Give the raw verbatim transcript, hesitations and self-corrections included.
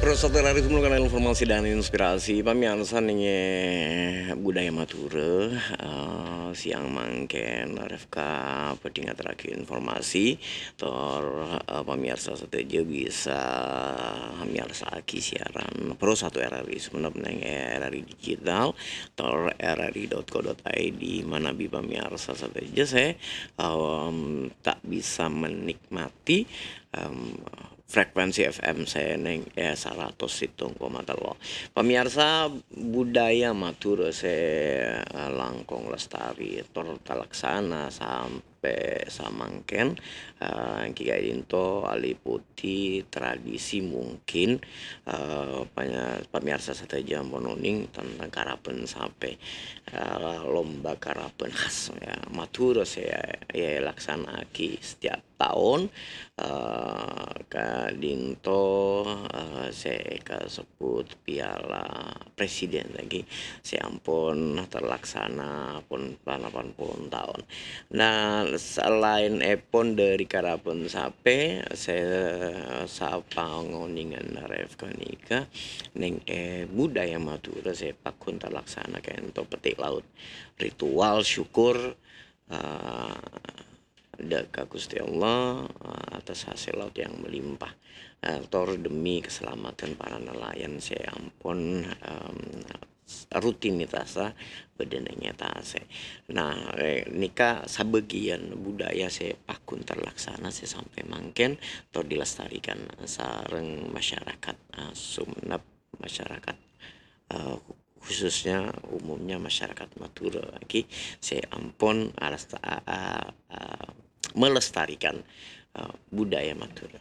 Terus satu hari sebelum kena informasi dan inspirasi, pamiyarsa nèng budaya Madhurâ, eh, siang mangkèn, Refka bhâdhi ngaterraghi informasi, tor, eh, pamiyarsa sadhâjâ bisa miyarsa'aghi siaran Pro satu R R I Sumenep nèng R R I digital, tor R R I dot co dot I D, manabi pamiyarsa sadhâjâ sè, em, ta' bisa menikmati, em, frekuensi F M sè nèng, eh, saratos sèttong koma tello. Pamiyarsa, budaya Madhurâ sè, eh, langkong lestari tor talaksana sampè' samangkèn, eh, èngghi ka'dinto aliputi tradisi mungkin, eh, panya-, pamiyarsa sadhâjâ ampon onèng tentang karapen sapè, eh, lomba karapen khas, ya, Madhurâ sè, ya, èlaksana'aghi setiap taon, eh, ka'dinto, eh, sè èkasebbhut Piala Presiden lagi, sè ampon terlaksana pon panapan pon taon. Nah, salaèn èpon dhâri karapen sapè, sè sapangonèngan Refka nèka, nèng è budaya Madhurâ sè pagghun terlaksana ka'dinto petik laut. Ritual syukur, eh, dâ' ka Ghustè Allah, eh, atas hasil laut yang melimpah, eh, tor demi keselamatan para nelayan sè ampon, em, rutinitas, eh, bâdâna ngetasè. Nah, eh, nèka sabâgiyân budaya sè pagghun terlaksana sè sampè' mangkèn tor dilestarikan sareng masyarakat, eh, Sumenep, masyarakat, eh, khususnya umumnya masyarakat Madhurâ lagi sè ampon alasta-, a-, a-, a-, melestarikan, eh, budaya Madhurâ.